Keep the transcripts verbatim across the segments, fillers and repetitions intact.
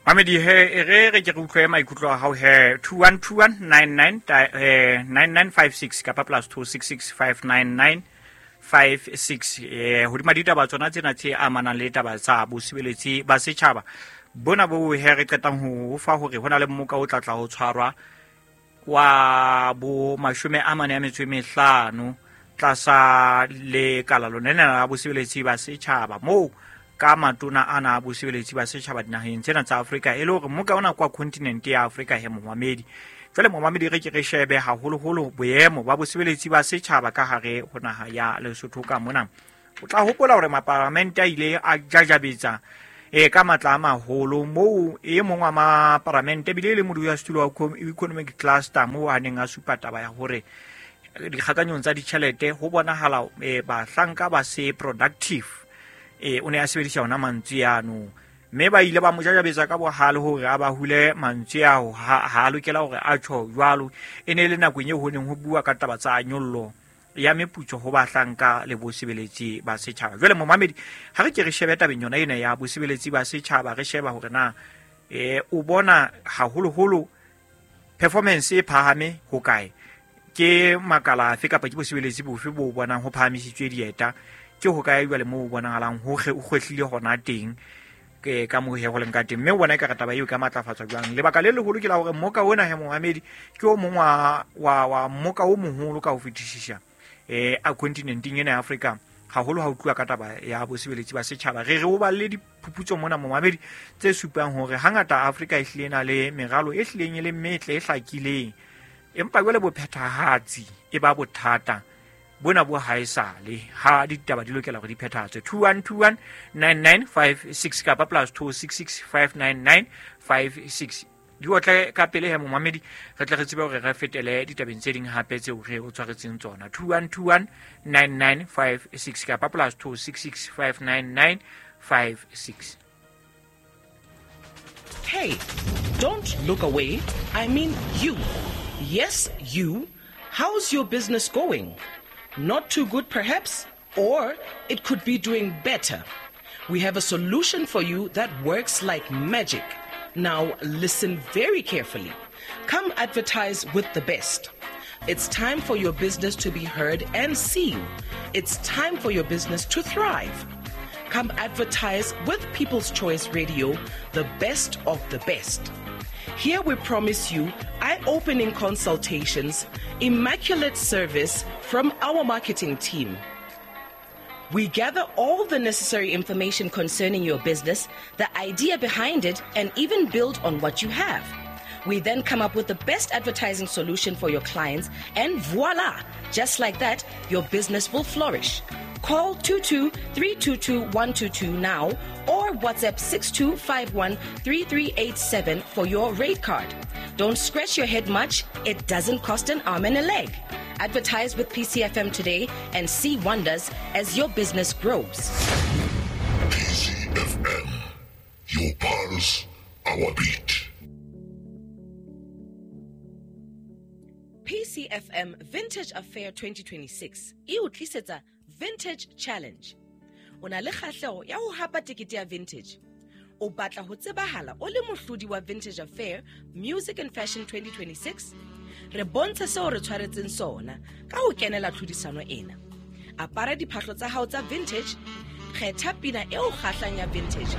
Mamedi he e re re ke re utlwe maikutlo a hao he two one two one nine nine nine nine five six kapa plus two six six five nine nine five six eh hodima ditaba tsona tsena tse amanang le taba tsa bosebeletsi ba setjhaba bona bo he re qetang ho fa hore hona le mmoka o tlatla ho tshwarwa wa bo mashome a mane a metso e mehlano tlasa le kala lona la bosebeletsi ba setjhaba moo ka matona ana a bosebeletsi ba setjhaba dinaheng tsena tsa Afrika e le hore mmoka ona kwa continent ya Afrika he momamedi. Jwale momamedi re ke re shebe haholoholo boemo ba bosebeletsi ba setjhaba ka hare ho naha ya Lesotho ka mona. O tla hopola hore maparlamente a ile a jajabetsa e ka matla a maholo moo e mong wa maparlamente bile le modulasetulo wa economic cluster moo a neng a supa taba ya hore dikgakanyong tsa ditjhelete ho bonahala bahlanka ba se productive. E o ne a sebedisa ona mantswe ano mme ba ile ba mo jajabetsa ka bohale hore a ba hule mantswe ao ha ha lokela hore a tjho jwalo. E ne le nakong eo ho neng ho bua ka taba tsa nyollo ya meputso ho bahlanka le bosebeletsi ba setjhaba. Jwale momamedi ha re ke re shebe tabeng yona ena ya bosebeletsi ba setjhaba, re sheba hore na e o bona haholoholo performance e phahame ho kae, ke makala afe kapa ke bosebeletsi bofe bo bonang ho phahamisitswe dieta, ke ho kae jwale moo bonahalang ho kgwehlile hona teng ke ka moo he ho leng ka teng, mme o bona ekare taba eo ka matlafatswa jwang. Lebaka le leholo ke la hore mmoka ona he momamedi ke o mong wa wa wa mmoka o moholo ka ho fetisisa eh a continenteng ena ya Afrika haholo ha utlwa ka taba ya bosebeletsi ba setjhaba. Re re o balle diphuputso mona momamedi tse supang hore hangata Afrika e hlile na le meralo e hlileng e le metle e hlakileng, empa jwale bophethahatsi e ba bothata bona bo haesale ha ditaba di lokela hore di phethahatswe. two one two one nine nine five six kapa plus two six six five nine nine five six di otle ka pele he momamedi re tle re tsebe hore re fetele ditabeng tse ding hape tseo re o tshwaretseng tsona. two one two one nine nine five six kapa plus two six six five nine nine five six. Hey, don't look away. I mean you. Yes, you. How's your business going? Not too good perhaps, or it could be doing better. We have a solution for you that works like magic. Now listen very carefully. Come advertise with the best. It's time for your business to be heard and seen. It's time for your business to thrive. Come advertise with People's Choice Radio, the best of the best. Here we promise you eye-opening consultations, immaculate service from our marketing team. We gather all the necessary information concerning your business, the idea behind it, and even build on what you have. We then come up with the best advertising solution for your clients, and voila! Just like that, your business will flourish. Call two two three two two one two two now or WhatsApp six two five one three three eight seven for your rate card. Don't scratch your head much. It doesn't cost an arm and a leg. Advertise with P C F M today and see wonders as your business grows. P C F M, your pulse, our beat. P C F M Vintage Affair twenty twenty-six e o tlisetsa Vintage Challenge. O na le kgahleho ya ho hapa tekete ya Vintage. O batla ho tsebahala o le mohlodi wa Vintage Affair Music and Fashion twenty twenty-six? Re bontshe seo re tshwaretseng sona ka ho kenela tlhodisano ena. Apara diphahlo tsa hao tsa vintage, kgetha pina eo kgahlang ya vintage,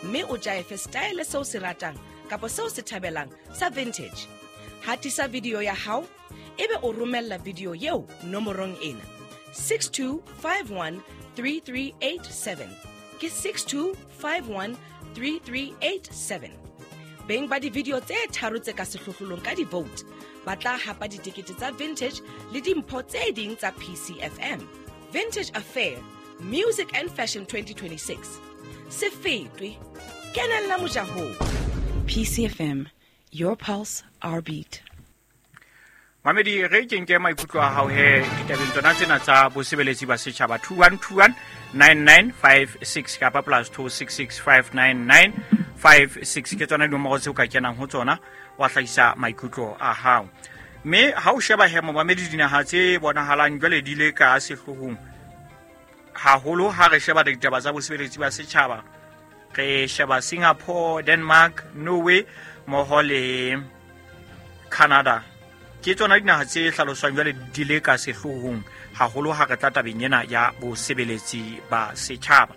mme o jaefe style seo se ratang kapa seo se thabelang sa vintage. Hatisa video ya hao ebe o romella video eo nomorong ena six two five one three three eight seven. Ke six two five one three three eight seven. Beng ba di-video tse tharo tse ka sehlohlolong ka di-vote ba tla hapa ditekete tsa vintage le dimpho tse ding tsa P C F M. Vintage Affair Music and Fashion twenty twenty-six. Se fetwe, kenella mojahong. P C F M, your pulse, our beat. Mamedi re ke nke maikutlo a hao he ditabeng tsona tsena tsa bosebeletsi ba setjhaba two one two one nine nine five six kapa plus two six six five nine nine five six ke tsona dinomoro tseo ka kenang ho tsona wa hlahisa maikutlo a hao. Mme ha o sheba he momamedi dinaha tse bonahalang jwale di le ka sehlohong haholo ha re sheba ditaba tsa bosebeletsi ba setjhaba, Re sheba Singapore, Denmark, Norway mmoho le Canada. Ke tsona dinaha tse hlaloswang jwale di le ka sehloohong haholo ha re tla tabeng ena ya bosebeletsi ba setjhaba.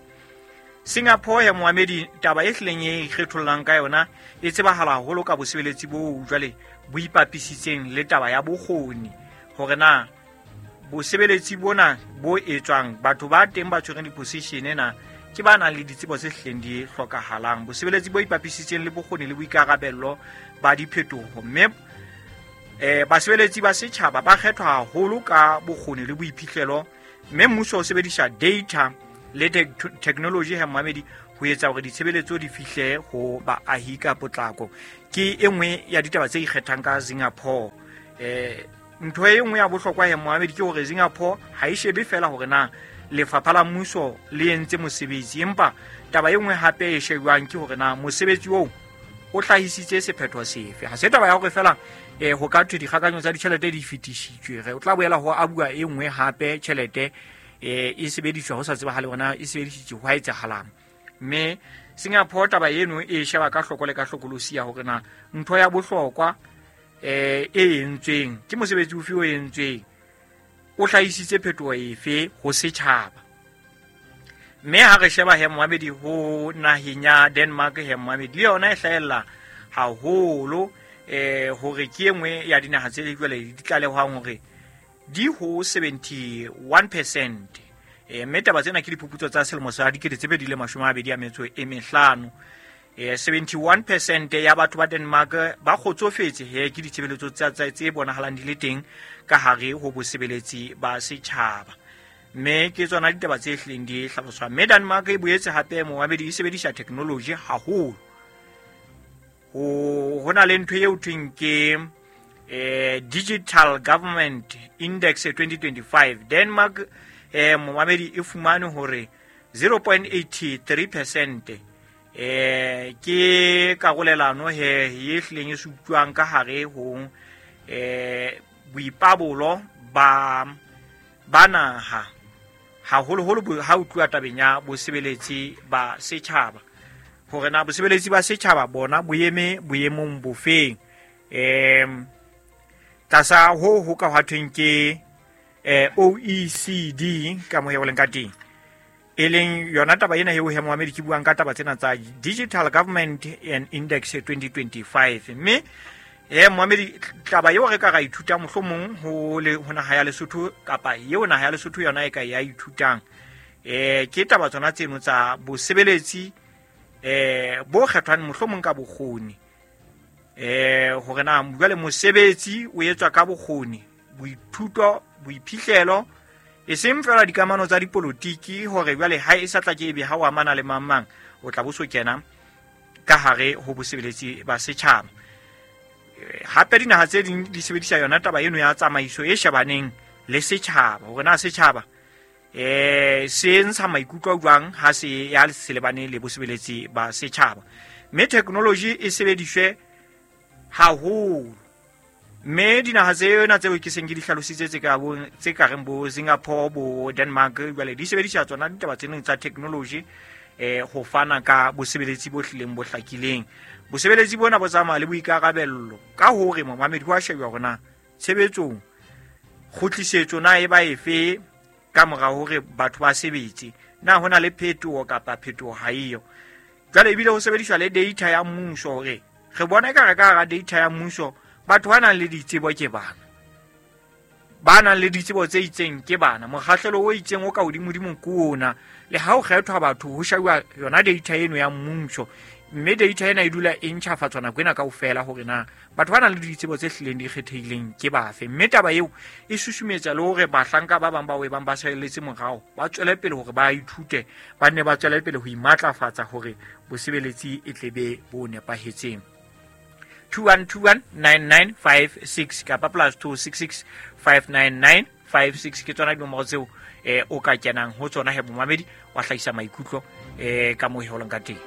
Singapore ya moamedi taba e hlileng e ikgethollang ka yona e tsebahala haholo ka bosebeletsi bo jwale bo ipapisitseng le taba ya bokgoni, hore na bosebeletsi bona bo etswang batho ba teng ba tshwereng di-position ena ke ba nang le ditsebo tse hlileng di hlokahalang. Bosebeletsi bo ipapisitseng le bokgoni le boikarabello ba diphetoho, mme eh basebeletsi ba setjhaba ba kgethwa haholo ka bokgoni le boiphihlelo, mme mmuso o sebedisa data le technology ha moamedi ho etsa hore ditshebeletso di fihle ho baahi ka potlako. Ke e nngwe ya ditaba tse ikgethang ka Singapore. Eh ntho e nngwe ya bohlokwa ya moamedi ke hore Singapore ha e shebe fela hore na lefapha la mmuso le entse mosebetsi, empa taba e nngwe hape e shebwang ke hore na mosebetsi oo o hlahisitse sephetho sefe. Ha se taba ya hore fela eh ho ka thwe dikgakanyo tsa ditjhelete di fetisitswe, re o tla boela ho abua e nngwe hape tjhelete eh e sebediswa ho sa tsebahale hore e sebedisitswe ho etsahalang. Mme Singapore taba eno e sheba ka hloko le ka hlokolosi ya hore na ntho ya bohlokwa eh e entsweng ke mosebetsi ofe o entsweng, o hlahisitse phetoho efe ho setjhaba. Mme ha re sheba he moamedi ho naheng ya Denmark, he moamedi le yona e hlahella haholo eh hore ke e nngwe ya dinaha tse jwale di tlalehwang hore di ho seventy-one percent. Eh mme taba tsena ke diphuputso tsa selemo sa dikete tse pedi le mashome a mabedi a metso e mehlano. Eh seventy-one percent ya batho ba Denmark ba kgotsofetse he ke ditshebeletso tsa tse bonahalang di le teng ka hare ho bosebeletsi ba setjhaba. Mme ke tsona ditaba tse hlileng di hlaloswa. Mme Denmark e boetse hape moamedi e sebedisa technology haholo. Ho hona le ntho eo thweng ke eh Digital Government Index twenty twenty-five. Denmark eh moamedi e fumane hore zero point eight three percent eh ke karolelano he e hlileng e supuang ka hare ho eh boipabolo ba ba naha haholoholo ha o tluwa tabeng ya bosebeletsi ba setjhaba, hore na bosebeletsi ba setjhaba bona bo eme boemong bofeng. Em tlasa ho ho ka hwa thweng ke eh O E C D ka mo leng ka teng, e leng yona taba ena eo he moamedi ke buang ka taba tsena tsa Digital Government and Index twenty twenty-five. Mme eh moamedi taba eo re ka ra ithuta mohlomong ho le ho naha ya Lesotho kapa eo naha ya Lesotho yona e ka ya ithutang eh ke taba tsona tseno tsa bosebeletsi eh bo kgethwang mohlomong ka bokgoni, eh hore na jwale mosebetsi o etswa ka bokgoni, boithuto, boiphihlelo, e seng fela dikamano tsa dipolotiki hore jwale ha e sa tla ke ebe ha o amana le mang mang o tla bo so kena ka hare ho bosebeletsi ba setjhaba. Hape dinaha tse ding di sebedisa yona taba eno ya tsamaiso e shebaneng le setjhaba, hore na setjhaba eh se ntsha maikutlo jwang ha se ya se lebane le bosebeletsi ba setjhaba. Mme technology e sebediswe haholo. Mme dinaha tsena tseo ke seng ke di hlalositse tse ka bo tse ka reng bo Singapore, bo Denmark jwale di sebedisa tsona ditaba tsena tsa technology eh ho fana ka bosebeletsi bo hlileng bo hlakileng. Bosebeletsi bona bo tsamaya le boikarabello ka hore momamedi wa shebwa hore na tshebetsong kgutlisetso na e ba efe ka mora hore batho ba sebetse, na hona le phetoho kapa phetoho ha eyo. Jwale ebile ho sebediswa le data ya mmuso hore re bona ka re ka hara data ya mmuso batho ba nang le ditsebo ke bana, ba nang le ditsebo tse itseng ke bana, mokgahlelo o itseng o ka hodimodimo ke ona. Le ha o kgethwa batho ho shebwa yona data eno ya mmuso, mme data ena e dula e ntjhafatswa nako ena kaofela hore na batho ba nang le ditsebo tse hlileng di kgethehileng ke bafe. Mme taba eo e susumetsa le hore bahlanka ba bang ba webang ba salletse morao ba tswele pele hore ba ithute, ba nne ba tswele pele ho imatlafatsa hore bosebeletsi e tle be bo nepahetseng. two one two one nine nine five six kapa plus two six six five nine nine five six ke tsona dinomoro tseo eh o ka kenang ho tsona he momamedi wa hlahisa maikutlo eh ka moo e holang ka teng.